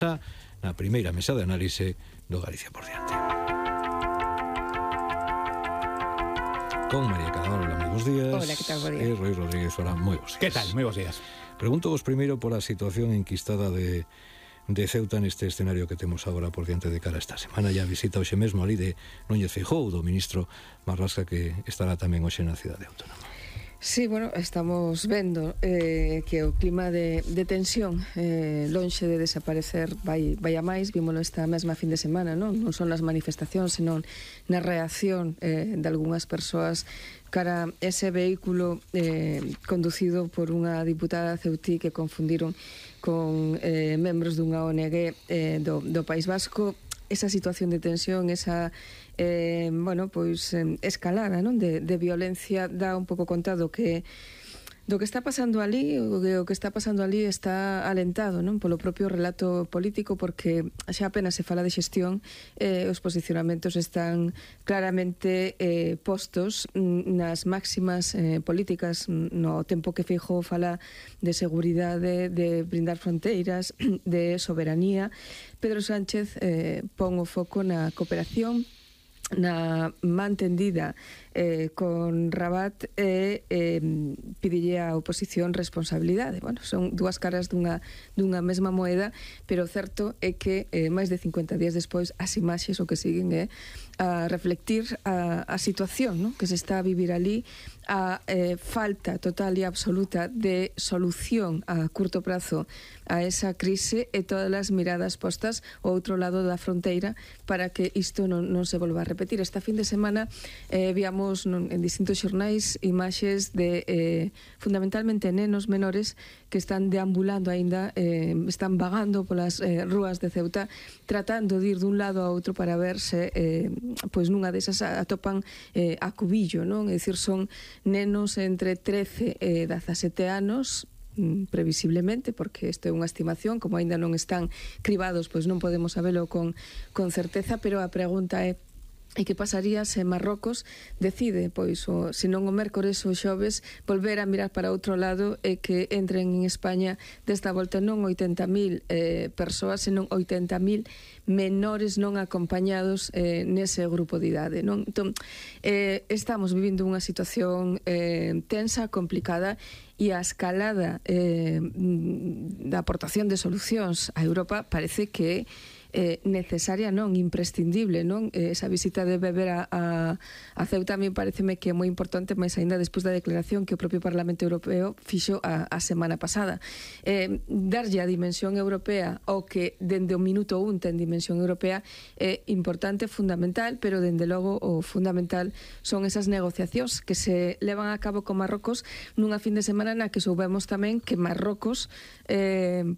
na primeira mesa de análise do Galicia por diante. Con María Cadaval, moi bons días. Hola, que tal, bo día. E Roi Rodríguez, hola, moi bons días. Que tal? Moi bons días. Pregunto-vos primeiro por a situación enquistada de Ceuta neste escenario que temos agora por diante de cara esta semana. Ya visita hoxe mesmo ali de Núñez Feijóo, do ministro Marlasca, que estará tamén hoxe na cidade autónoma. Sí, bueno, estamos vendo que o clima de tensión lonxe de desaparecer vai a máis. Vímolo esta mesma fin de semana, non son as manifestacións, senón na reacción de algunhas persoas cara ese vehículo conducido por unha diputada ceutí que confundiron con membros dunha ONG do País Vasco. Esa situación de tensión, esa escalada, non, de violencia dá un pouco conta do que está pasando ali. O que está pasando ali está alentado, non, polo propio relato político, porque xa apenas se fala de xestión, os posicionamentos están claramente postos nas máximas políticas, no tempo que Feijóo fala de seguridade, de brindar fronteiras, de soberanía. Pedro Sánchez pon o foco na cooperación, na mantendida con Rabat, e pidille á oposición responsabilidade. Bueno, son dúas caras dunha mesma moeda, pero o certo é que máis de 50 días despois as imaxes o que siguen é a reflectir a situación, non, que se está a vivir ali, a falta total e absoluta de solución a curto prazo a esa crise, e todas as miradas postas ao outro lado da fronteira para que isto non se volva a repetir. Esta fin de semana víamos en distintos xornais imaxes de fundamentalmente nenos menores que están deambulando aínda, están vagando polas rúas de Ceuta, tratando de ir dun lado a outro para ver se pois nunha desas atopan a cubillo, non? É dicir, son nenos entre 13 e 17 anos, previsiblemente, porque isto é unha estimación, como aínda non están cribados, pois non podemos sabelo con certeza, pero a pregunta é: e que pasaría se Marrocos decide, pois, se non o mércores ou xoves, volver a mirar para outro lado e que entren en España desta volta non 80.000 persoas, senón 80.000 menores non acompañados nese grupo de idade, non? Entón, estamos vivindo unha situación tensa, complicada, e a escalada da aportación de solucións a Europa parece que necesaria, non, imprescindible, non? Esa visita de Weber a Ceuta a mí pareceme que é moi importante, máis aínda despois da declaración que o propio Parlamento Europeo fixo a semana pasada. Darlle a dimensión europea ao que dende o minuto 1 ten dimensión europea é importante, fundamental, pero dende logo o fundamental son esas negociacións que se levan a cabo con Marrocos nunha fin de semana na que soubemos tamén que Marrocos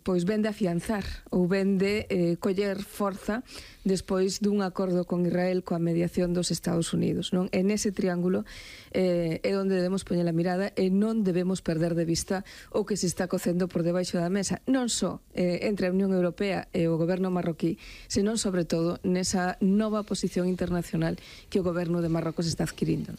pois vende a afianzar ou vende coller forza despois dun acordo con Israel coa mediación dos Estados Unidos, non? En ese triángulo é onde debemos poñer a mirada, e non debemos perder de vista o que se está cocendo por debaixo da mesa, non só entre a Unión Europea e o goberno marroquí, senón sobre todo nesa nova posición internacional que o goberno de Marrocos está adquirindo.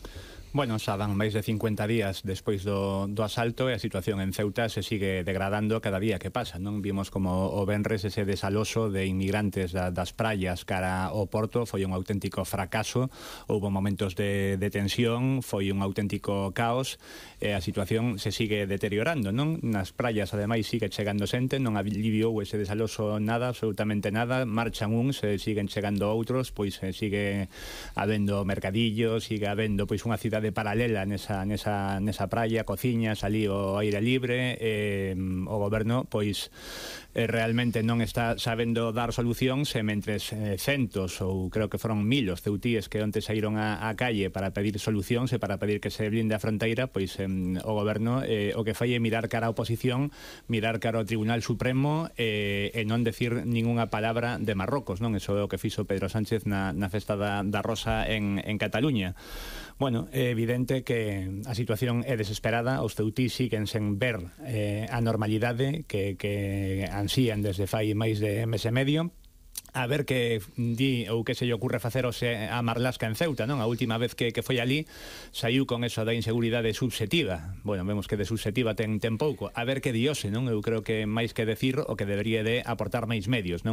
Bueno, xa dan máis de 50 días despois do asalto, e a situación en Ceuta se sigue degradando cada día que pasa, non? Vimos como o venres ese desaloso de inmigrantes das praias cara ao porto foi un auténtico fracaso. Houbo momentos de tensión, foi un auténtico caos, e a situación se sigue deteriorando, non? Nas praias, ademais, sigue chegando xente, non aliviou ese desaloso nada, absolutamente nada. Marchan uns, siguen chegando outros, pois sigue habendo mercadillos, sigue habendo pois unha cidade paralela nesa praia, cociñas, ali ao aire libre. O goberno pois realmente non está sabendo dar solucións, e mentres centos, ou creo que foron 1000 os ceutíes que onte saíron á calle para pedir solucións e para pedir que se blinde a fronteira, pois o goberno o que fai é mirar cara á oposición, mirar cara ao Tribunal Supremo, e non decir ningunha palabra de Marrocos, non? Eso é o que fixo Pedro Sánchez na festa da Rosa en Cataluña. Bueno, é evidente que a situación é desesperada, os ceutís siguen sen ver a normalidade que ansían desde fai máis de mes e medio. A ver que di ou que se lle ocurre facer a Marlasca en Ceuta, non? A última vez que foi ali saiu con eso da inseguridade subxetiva. Bueno, vemos que de subxetiva ten pouco. A ver que diose, non? Eu creo que máis que decir o que debería de aportar máis medios, non?